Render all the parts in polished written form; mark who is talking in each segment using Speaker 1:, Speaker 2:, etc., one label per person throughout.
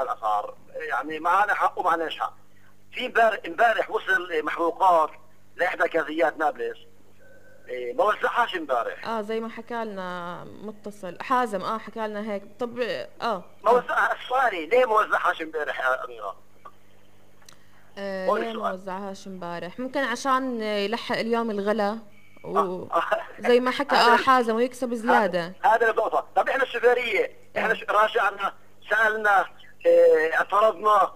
Speaker 1: على الاسعار، يعني معنا حق ومعناش حق. في امبارح وصل محروقات لاحدى كازيات نابلس، ما وزعهاش امبارح.
Speaker 2: زي ما حكى لنا متصل حازم، حكى لنا هيك. طب
Speaker 1: ما وزعها. السؤالي ليه ما وزعهاش امبارح يا اميره؟ هون
Speaker 2: ليه ما
Speaker 1: السؤال.
Speaker 2: وزعهاش امبارح؟ ممكن عشان يلحق اليوم الغلا،
Speaker 1: آه.
Speaker 2: وزي ما حكى حازم ويكسب زيادة.
Speaker 1: هذا النقطة. طب احنا الشوفيرية احنا راجعنا سألنا، اعترضنا.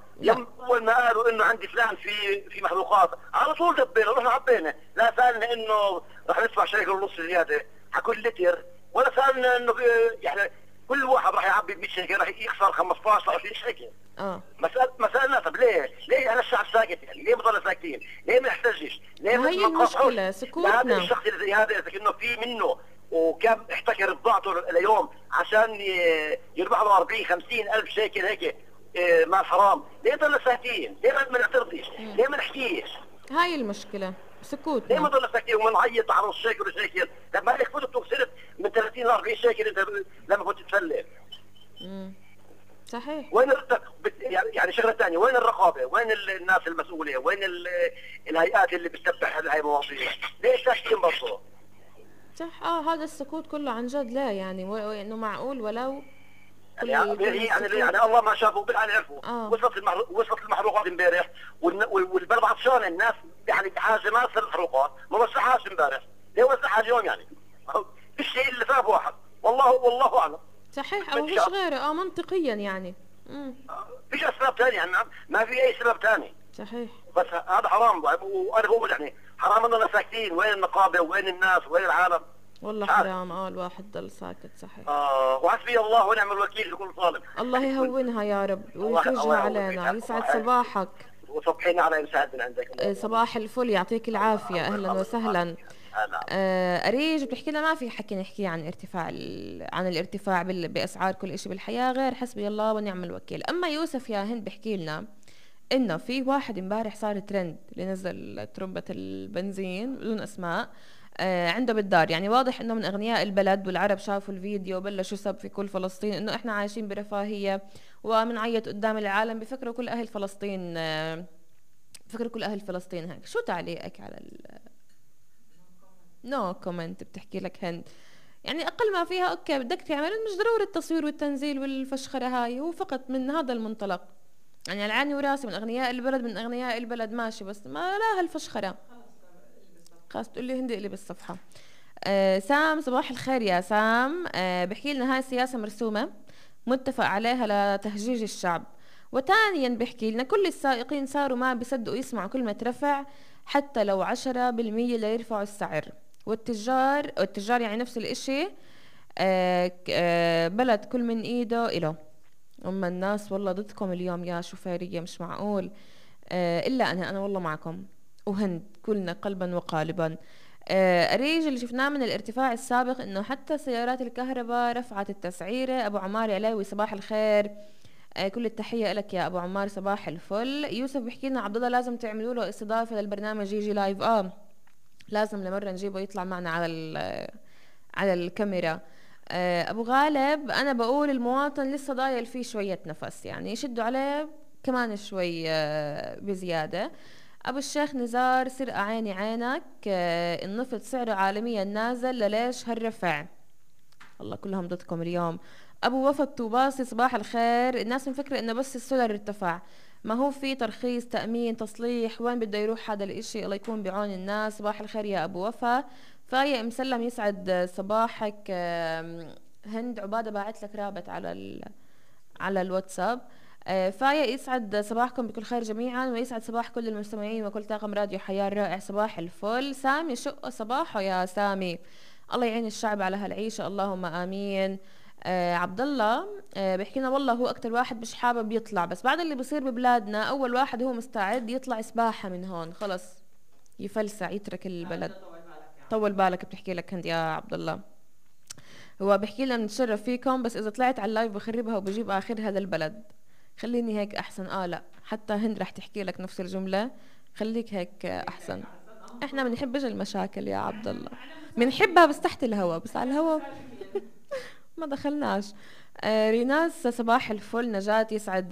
Speaker 1: اول ما قالوا انه عندي فلان في محروقات على طول دبينا رحنا عبينا. لا سألنا انه رح ندفع شريك ونص زيادة حكل لتر، ولا سألنا انه يعني كل واحد راح يعبي ب 100 شيكل راح يخسر 15 20 شيكل. ما سألنا. طب ليه انا الشعب ساكت؟ يعني ليه بضل ساكتين؟ ليه ما نحتجش؟ ليه
Speaker 2: ما هي المشكلة سكوتنا؟
Speaker 1: هذا الشخص اللي زي هذا اذا كأنه في منه وكان احتكر بضاعته اليوم عشان يربح له 40 50 الف شيكل هيك مال حرام، ليه ضل ساكتين؟ ليه ما نعترضش؟ ليه ما نحكيش؟
Speaker 2: هاي المشكلة سكوتنا.
Speaker 1: ليه ما ضل ساكتين ونعيط على نص شيكل وشيكل؟ طب ما لك فوتوا صرت من 30 ل 40 شيكل انت لما كنت تفلت.
Speaker 2: صحيح.
Speaker 1: وين يعني شغله ثانيه، وين الرقابه؟ وين الناس المسؤوله؟ وين الهيئات اللي بتتبع هاي المواضيع؟ ليش ساكتين برضه؟
Speaker 2: صح. هذا السكوت كله عن جد لا يعني انه معقول ولو
Speaker 1: يعني الله ما شافوا بالعين عرفوا. وصلت المحروقات امبارح والبلد عطشان، الناس يعني بحاجه ما تصير المحروقات، ما وزعهاش امبارح، ليه وزعها اليوم يعني؟ الشيء اللي ثاب واحد والله اعلم.
Speaker 2: صحيح او مش غيره منطقيا يعني.
Speaker 1: فيش اسباب ثانيه يعني، ما في اي سبب ثاني.
Speaker 2: صحيح.
Speaker 1: بس هذا حرام، وانا بقول يعني حرام اننا ساكتين. وين النقابه وين الناس وين العالم؟
Speaker 2: والله حرام. الواحد ضل ساكت. صحيح.
Speaker 1: وحسبي الله ونعم الوكيل في كل ظالم.
Speaker 2: الله يهونها يا رب ويفرجها علينا. يسعد صباحك.
Speaker 1: وصبحينا على مساعد من عندك.
Speaker 2: صباح الفل، يعطيك العافيه. اهلا وسهلا. أريج بتحكي لنا ما في حكي نحكي عن الارتفاع بأسعار كل شيء بالحياة غير حسبي الله ونعم الوكيل. أما يوسف يا هند بحكي لنا إنه في واحد امبارح صار ترند اللي نزل ترمبة البنزين بدون أسماء عنده بالدار. يعني واضح إنه من أغنياء البلد، والعرب شافوا الفيديو وبلشوا يسب في كل فلسطين إنه إحنا عايشين برفاهية ومنعيط قدام العالم. بفكروا كل أهل فلسطين هيك. شو تعليقك على نو كومنت؟ بتحكي لك هند يعني اقل ما فيها اوكي بدك تعمل، مش ضروري التصوير والتنزيل والفشخره هاي، هو فقط من هذا المنطلق يعني على عيني وراسي من اغنياء البلد ماشي، بس ما لا هالفشخره خلاص. تقول لي هندي اللي بالصفحه. سام صباح الخير يا سام. بحكي لنا هاي سياسه مرسومه متفق عليها لتهجيج الشعب. وثانيا بحكي لنا كل السائقين صاروا ما بيصدقوا يسمعوا كلمه رفع حتى لو 10% ليرفعوا السعر. والتجار يعني نفس الاشي. بلد كل من ايده إله. أما الناس والله ضدكم اليوم يا شوفيرية، مش معقول. إلا أنا والله معكم. وهند كلنا قلبا وقالبا. أريج اللي شفناه من الارتفاع السابق إنه حتى سيارات الكهرباء رفعت التسعيرة. أبو عمار علاوي صباح الخير. كل التحية لك يا أبو عمار صباح الفل. يوسف بيحكي لنا عبد الله لازم تعملوا له استضافة للبرنامج يجي لايف. لازم لمرة نجيبه يطلع معنا على الكاميرا. أبو غالب أنا بقول المواطن لسه ضايل فيه شوية نفس، يعني يشدوا عليه كمان شوي بزيادة. أبو الشيخ نزار سرقة عيني عينك. النفط سعره عالميا نازل لليش هالرفع؟ الله كلهم ضدكم اليوم. ابو وفا الطوباسي صباح الخير. الناس مفكرة انه بس السولر ارتفع، ما هو في ترخيص تأمين تصليح، وين بده يروح هذا الاشي؟ الله يكون بعون الناس. صباح الخير يا ابو وفا. فاية مسلم يسعد صباحك. هند عبادة باعت لك رابط على الواتساب. فاية يسعد صباحكم بكل خير جميعا، ويسعد صباح كل المستمعين وكل طاقم راديو حياة الرائع. صباح الفل. سامي شق صباحه يا سامي. الله يعين الشعب على هالعيشة اللهم آمين. عبد الله بيحكي لنا والله هو أكتر واحد مش حابب يطلع، بس بعد اللي بصير ببلادنا أول واحد هو مستعد يطلع سباحة من هون، خلص يفلسع يترك البلد. طول بالك بتحكي لك هند يا عبد الله. هو بيحكي لنا نتشرف فيكم، بس إذا طلعت على اللايف بخربها وبجيب آخرها للبلد. خليني هيك أحسن. لا حتى هند رح تحكي لك نفس الجملة. خليك هيك أحسن. إحنا بنحبش المشاكل يا عبد الله، بنحبها بس تحت الهوا، بس على الهوا ما دخلناش. ريناس صباح الفل. نجاة يسعد